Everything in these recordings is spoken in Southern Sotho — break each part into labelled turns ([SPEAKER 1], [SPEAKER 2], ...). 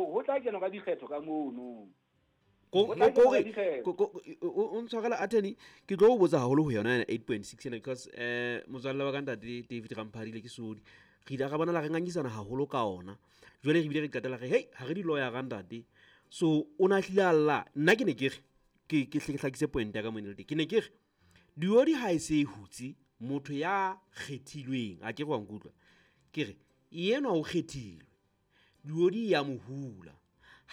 [SPEAKER 1] Ho tla kenwa ka dikgetho ka mono.
[SPEAKER 2] Kore o ntshwarela, attorney, ke tlo o botsa haholo ho yona ena 8.6 ena, because motswalle wa ka, ntate David Ramphadile, ke sodi re ile ra bonala re ngangisana haholo ka ona. Jwale re bile re qetela re hei, ha re di-lawyer ra ntate. So o na hlile a lla. Nna ke ne ke re ke hle ke hlakise point ya ka mo ke ne ke re diodi ha e se e hutse motho ya kgethilweng, a ke re wa nkutlwa? Ke re enwa o kgethilwe, diodi ya mo hula.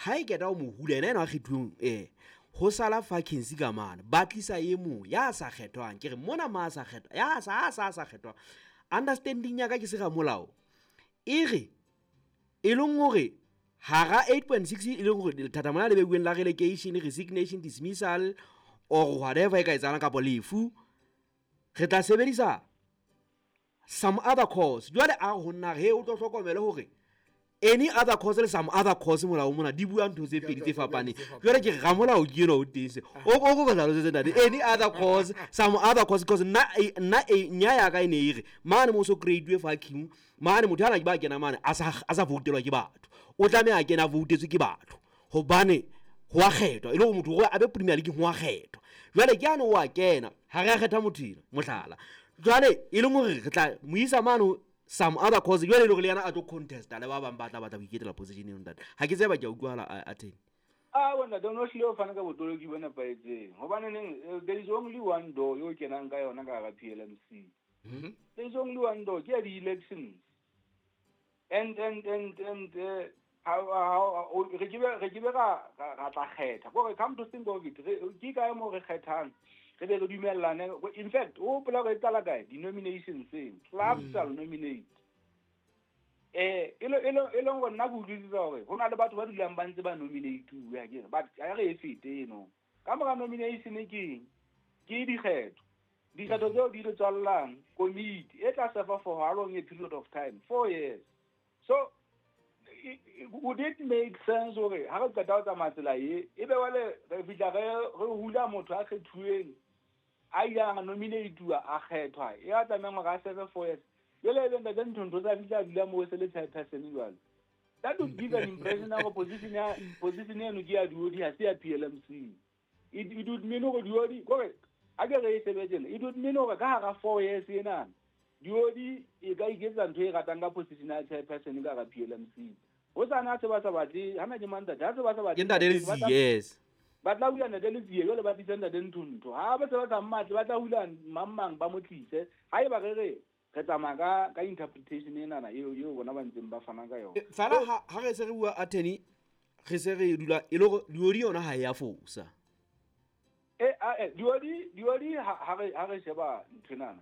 [SPEAKER 2] Ha e keta ho mo hula ena, ena a kgethuweng, ho sala vacancy ka mane, ba tlisa e mong ya sa kgethwang. Ke re mona ma sa kgethwa, ya sa a sa sa kgethwang, understanding ya ka ke se ramolao e re e leng hore hara 8.6, e leng hore lethathamo la le beuweng la relegation, resignation, dismissal or whatever e ka etsahalang kapa lefu, re tla sebedisa some other cause. Jwale a ho nna re o tlo hlokomele hore any other cause le some other cause, molao mona di bua ntho tse pedi tse fapaneng. Jwale ke re ramolao ke enwa o teng, se o ko hlalosetse, ntate, any other cause, some other cause, because nna e nya ya ka e ne e re mane mo so create vacuum mane, motho ana ke ba kena mane a sa voutelwa ke batho, o tlameha a kena a voutetswe ke batho, hobane ho a kgethwa e le hore motho hore a be Premier League ho a kgethwa. Jwale ke ane o a kena, ha re a kgetha motho ena, mohlala, jwale e leng hore re tla mo isa mane some other cause, jwale e le hore le yena a tlo contesta le ba bang ba tla batla ho iketela position eno. Ntate, ha ke tseba ke a utlwahala, a teng.
[SPEAKER 1] Ah, wena don't know, hlile o fana ka botoloki bo nepahetseng, hobaneneng there is only one door eo kenang ka yona ka hara PLMC. There is only one door, ke ya di-elections, and how re ke be ra tla kgetha kore, come to think of it, ke kae mo re kgethang, re be re dumellane? In fact, o hopola hore e qala kae di-nominations tseno? Clubs shall nominate. E leng gore nna ke utlwisisa hore ho na le batho ba dulang ba ntse ba nominate-uwe akere, but ha re e fete eno. Ka mora nomination ke eng? Ke dikgetho. Dikgetho tseo di le tswallang komiti e tla serve for how long a period of time? 4 years. So would it make sense hore ha re qeta ho tsamaya tsela e, e be wale re fihla re hula motho a kgethuweng, a ileng a nominate-uwa, a kgethwa, ya tlamehang hore a serve 4 years, jwale ebe ntate Nthontho tsa fihla a dula moo, e se le chairperson jwale? That would give an impression ya hore position eno ke ya Duodi, ha se ya PLMC. It would mean hore Duodi kore a ke re e sebetsene, it would mean hore ka hara 4 years ena Duodi e ka iketsa ntho e ratang ka position ya chairperson ka hara PLMC. Ho sana se ba sa batle hana ke mang, ntate, ha se ba sa batle
[SPEAKER 2] Ke ntate Letsie, yes.
[SPEAKER 1] Ba tla hula ntate Letsie, jwale ba tlise ntate Nthontho. Ha ba se ba sa mmatle, ba tla hula mang mang, ba mo tlise. Ha eba re tsamaya ka interpretation enana eo bona ba ntseng ba fana ka yona.
[SPEAKER 2] Fela ha re se re bua, attorney, re se re dula e le hore diodi yona ha e ya fosa.
[SPEAKER 1] Diodi ha re sheba nthwenana,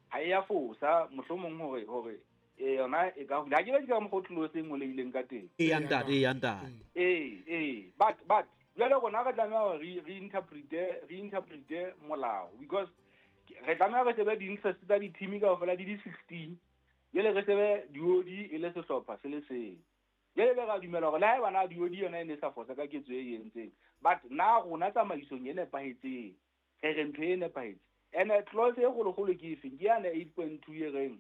[SPEAKER 1] ha e ya fosa mohlomong hore yona e ka hula, ha ke be ke ka mokgwa o tlose e ngolehileng ka teng.
[SPEAKER 2] E ya ntate, e ya ntate.
[SPEAKER 1] Ee, but jwale rona re tlameha hore re interprete molao, because re tlameha re shebe di-interest tsa di-team kaofela di 16, jwale re shebe Diodi e le sehlopha se le seng. Jwale be ra dumela hore le ha eba na Diodi yona e ne e sa fosa ka ketso e entseng, but na rona tsamaisong e nepahetseng re re ntho e nepahetse. And clause e kgolokgolo ke efeng? Ke yane 8.2 e reng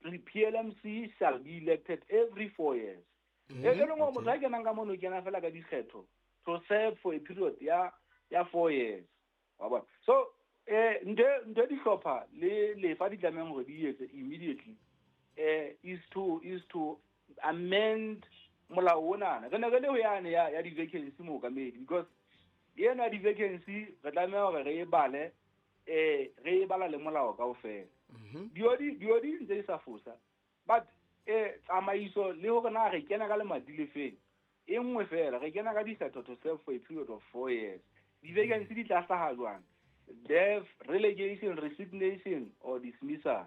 [SPEAKER 1] PLMC shall be elected every 4 years, e leng hore motho a kenang ka mono o kena fela ka dikgetho to serve for a period ya 4 years, wa bona? So ntho e dihlopha le lefa di tlamehang hore di etse immediately is to amend molao onana re ne re le ho yane ya di-vacancy mookamedi, because ena ya di-vacancy re tlameha hore re e bale, re e bala le molao kaofela. Diodi ntse di sa fosa, but tsamaiso le hore na re kena ka lemati le feng, e nngwe fela, re kena ka dikgetho to serve for a period of 4 years. Di-vacancy di tla hlaha jwang? Death, relegation, resignation or dismissal,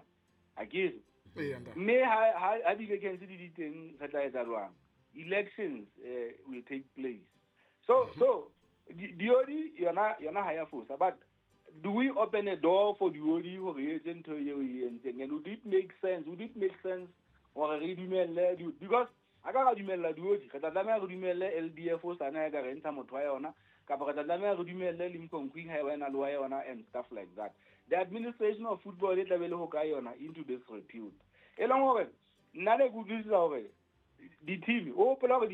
[SPEAKER 1] akere?
[SPEAKER 3] Ee, ntate.
[SPEAKER 1] Mme ha di-vacancy di teng, re tla etsa jwang? Elections will take place. So Diodi yona ha ya fosa, but do we open a door for Diodi hore e etse ntho eo e entseng? And would it make sense? Would it make sense hore re dumelle because a ka ra dumella Diodi, re tla tlameha re dumelle LDF o sana ya ka re ntsha motho wa yona, kapa re tla tlameha re dumelle Limkokwing ha eba ena le wa yona and stuff like that. The administration of football e tla be le ho ka yona into disrepute, e leng hore nna ne ke utlwisisa hore di-team o hopola hore